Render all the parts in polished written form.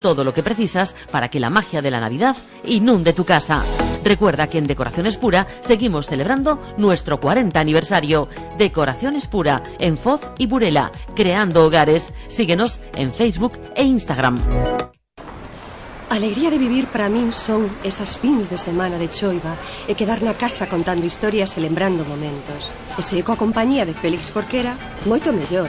Todo lo que precisas para que la magia de la Navidad inunde tu casa. Recuerda que en Decoraciones Pura seguimos celebrando nuestro 40 aniversario. Decoraciones Pura, en Foz y Burela, creando hogares. Síguenos en Facebook e Instagram. A alegría de vivir para min son esas fins de semana de choiva e quedar na casa contando historias e lembrando momentos. E se coa compañía de Félix Jorquera, moito mellor.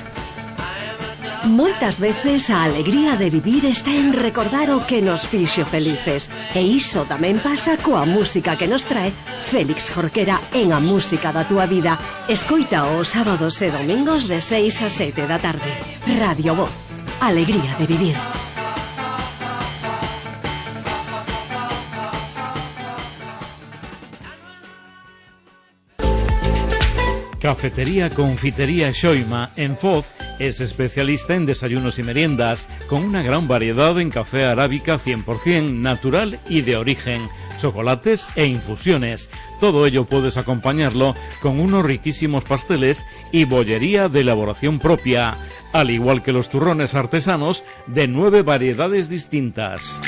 Moitas veces a alegría de vivir está en recordar o que nos fixo felices. E iso tamén pasa coa música que nos trae Félix Jorquera en A Música da Túa Vida. Escoita os sábados e domingos de 6 a 7 da tarde. Radio Voz. Alegría de vivir. Cafetería Confitería Xoima en Foz es especialista en desayunos y meriendas, con una gran variedad en café arábica 100% natural y de origen, chocolates e infusiones. Todo ello puedes acompañarlo con unos riquísimos pasteles y bollería de elaboración propia, al igual que los turrones artesanos de 9 variedades distintas.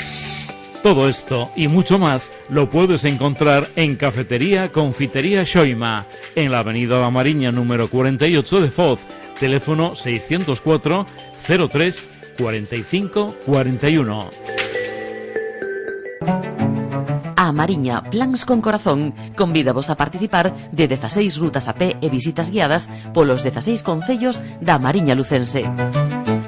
Todo esto y mucho más lo puedes encontrar en Cafetería Confitería Xoima, en la avenida da Mariña número 48 de Foz, teléfono 604 03 45 41. A Mariña Plans con Corazón convídavos a participar de 16 rutas a pé e visitas guiadas polos 16 concellos da Mariña Lucense.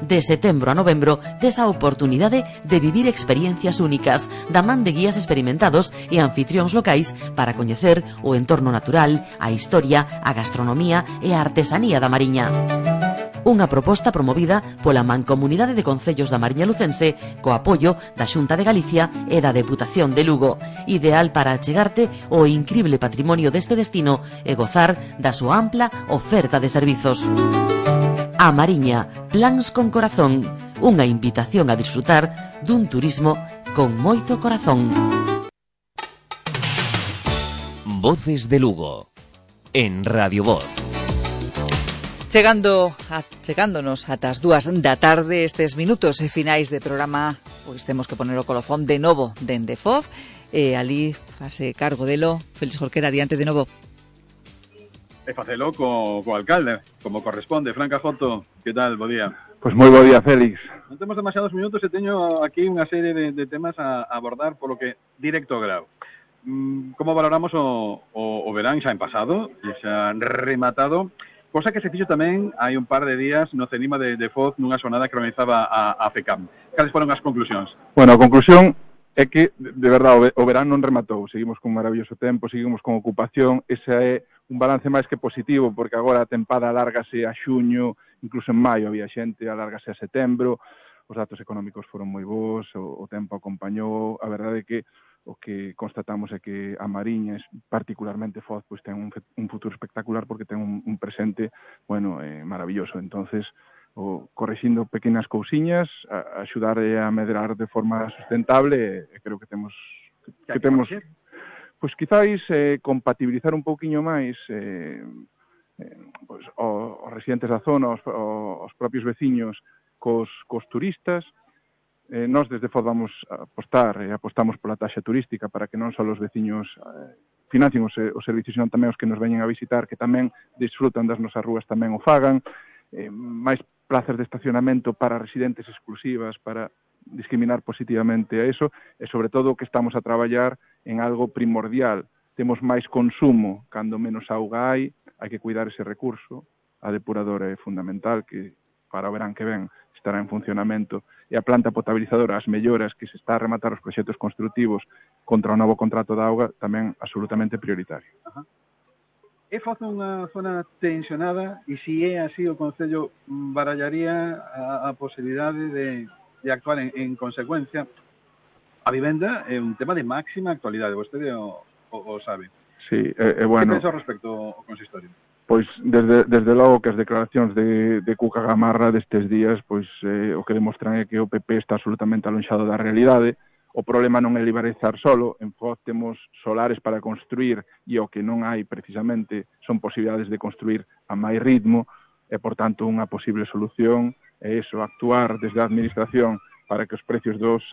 De setembro a novembro, tes a oportunidade de vivir experiencias únicas da man de guías experimentados e anfitrións locais para coñecer o entorno natural, a historia, a gastronomía e a artesanía da Mariña. Unha proposta promovida pola Mancomunidade de Concellos da Mariña Lucense co apoio da Xunta de Galicia e da Deputación de Lugo, ideal para achegarte o incrible patrimonio deste destino e gozar da súa ampla oferta de servizos. A Mariña, Plans con Corazón, unha invitación a disfrutar dun turismo con moito corazón. Voces de Lugo, en Radio Voz. Chegándonos ata as 2 da tarde, estes minutos e finais de programa, pois temos que poner o colofón de novo dende Foz, e ali fase cargo delo Félix Jorquera, adiante de novo. E facelo co alcalde, como corresponde. Fran Cajoto, que tal? Bo día. Pois moi bo día, Félix. Non temos demasiados minutos e teño aquí unha serie de temas a abordar, polo que directo ao grao. Como valoramos o verán xa en pasado, e xa rematado, cosa que se fixo tamén hai un par de días no Cenima de Foz nunha xornada que organizaba a FECAM. Cales foron as conclusións? Bueno, a conclusión é que, de verdade, o verán non rematou. Seguimos con maravilloso tempo, seguimos con ocupación. Ese é un balance máis que positivo, porque agora a tempada alárgase a xuño, incluso en maio había xente, alárgase a setembro. Os datos económicos foron moi bons, o tempo acompañou. A verdade é que o que constatamos é que a Mariña, particularmente Foz, pois ten un futuro espectacular porque ten un presente, bueno, maravilloso. Entonces, correxindo pequenas cousiñas, axudar a medrar de forma sustentable, e creo que temos pois quizáis compatibilizar un pouquiño máis pois, os residentes da zona, os propios veciños cos turistas. Nós desde Foz vamos a apostar e apostamos pola taxa turística para que non só os veciños financien os servicios, senón tamén os que nos veñen a visitar, que tamén disfrutan das nosas rúas, tamén o fagan. Máis plazas de estacionamento para residentes exclusivas, para discriminar positivamente a eso, e sobre todo que estamos a traballar en algo primordial. Temos máis consumo, cando menos auga hai que cuidar ese recurso. A depuradora é fundamental, que para o verán que ven estará en funcionamento, e a planta potabilizadora, as melloras que se está a rematar os proxectos construtivos contra o novo contrato de auga, tamén absolutamente prioritario. Ajá. É Foz unha zona tensionada, e se é así, o Concello barallaría a posibilidade de actuar en consecuencia. A vivenda é un tema de máxima actualidade, vostede o sabe. Sí, bueno. Que pensa ao respecto o consistorio? Pois desde logo que as declaracións de Cuca Gamarra destes días, pois o que demostran é que o PP está absolutamente alonxado da realidade. O problema non é liberalizar solo, en Foz temos solares para construir, e o que non hai precisamente son posibilidades de construir a máis ritmo, e por tanto unha posible solución é eso, actuar desde a administración para que os precios dos